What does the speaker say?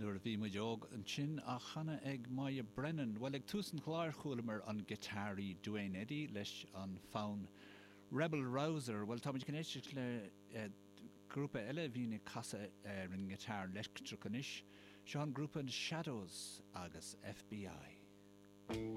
Nuair a bhí muid óg ansin á chanadh ag Moya Brennan. Bhuel, ag tús an chláir chualamar an giotáraí Duane Eddy leis an fonn Rebel Rouser. Bhuel, táimid chun éisteacht le grúpa eile a bhíonn ag casadh ar an ngiotár leictreach anois. Seo an grúpa Shadows agus FBI.